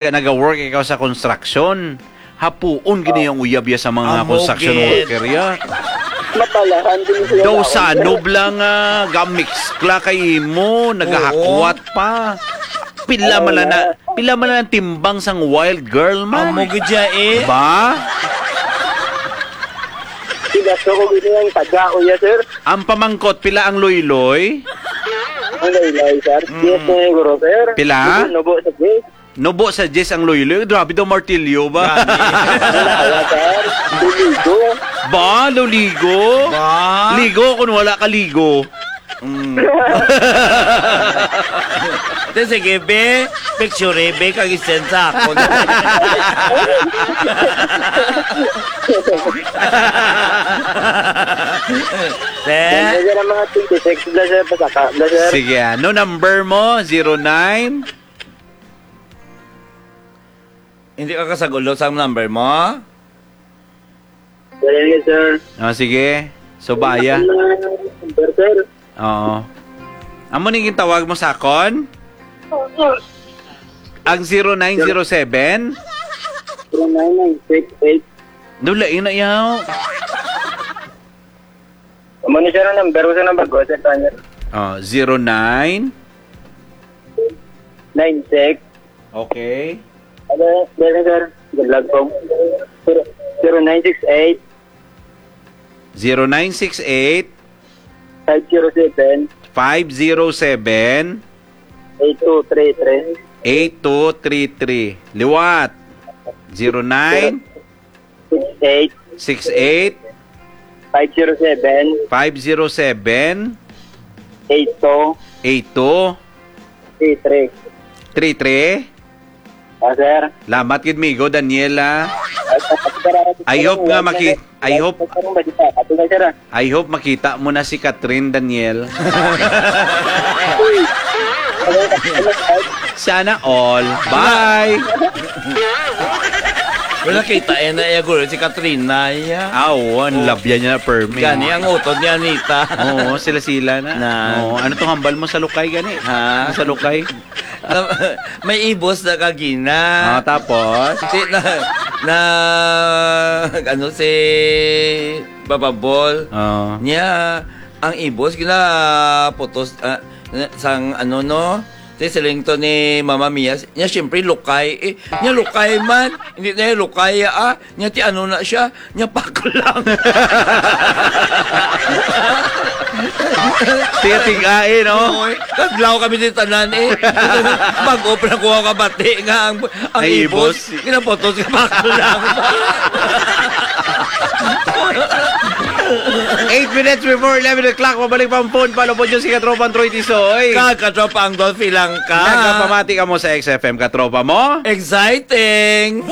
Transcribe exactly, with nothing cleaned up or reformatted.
naga-work ikaw sa construction, hapuon gid ang uyab ya sa mga Amo construction gid. worker ya. Mapalahan din siya Daw na. Sanob lang, ah, gamix kla kay imo, Oo. nagahakwat pa. Pila Oo man lang na, nga. pila man lang timbang sang wild girl man. Amo gid siya eh. Ba? Sigasto ko gid ang taga, uya, sir. Ang pamangkot, pila ang loyloy? Ang loyloy, sir. Mm. Yes, siguro, sir. Pila? Nubo, nubo sa J. Nubo sa Jess ang loyloy. Grabe daw, martilyo ba? Gani. Wala, sir. Luligo. Ba? Luligo? Ba? Ligo kung wala ka ligo. Mm. Te, sige, be. Picture, be, kag i-send sa akon. Te? Yan, yan ang mga twenty-six, bla, sir, pasaka, bla, sir. Sige, ano number mo? Zero nine? Hindi ka kasagulo sa number mo? Dali, sir. Ah, sige. Subaya. Ang number, sir. Oo. Amo ni gintawag mo sa akon? Oo. Ang zero nine zero seven? Zero nine nine six eight. Dula, ina, yaw. Amo ni, sir, ang number ko sa number ko, sir, Tanya. Oh, zero nine? Nine six. Okay. Ano, sir, sir? Good luck po. Zero, zero nine six eight. Zero nine six eight. Five zero seven. Five zero seven. Eight two three three. Eight two three three. Liwat. Zero nine. Six eight. Six eight. Five zero seven. Five zero seven. Eight two. Eight two. Three three. Three three. Ah, sir. Lamat gid, migo Daniel, ah. Ay, sir, sir, sir, I hope nga sir, maki-, sir, I hope, sir, sir, sir, sir, sir, sir. I hope makita mo na si Catherine, Daniel. Sana all. Bye! Wala, kita eh na iya, guro, si Katrina, iya. Ah, oo, ang labyan niya na permi. Gani ang utod ni Anita. Oo, sila-sila na. Na. Oo, ano tong hambal mo sa lukay, gani? Ha? Sa lukay? Na, may ibos na kagina. Ah, tapos? Si, na, na, ano, si Papa Bol. Oo. Niya, ang ibos, ginaputos, ah, na, sang, ano, no? Si siling to ni Mama Mia, niya, siyempre, lukay. Eh, niya, lukay man. Hindi na lukay, ah. Niya, ti, ano na siya? Niya, paklang. Tigatig-ai, no? Oy, kadlaw kami ni tanan, eh. Bag-o pa na ko kabati nga ang, ang Ay, ibos, ibos. Ginaputos nga paklang. Eight minutes before eleven o'clock, mabalik pa ang phone. Follow po dyan si Katropang Troy Tisoy. Kag Katropang Dolphy Langka. Nagapamati ka mo sa X F M, katropa mo? Exciting!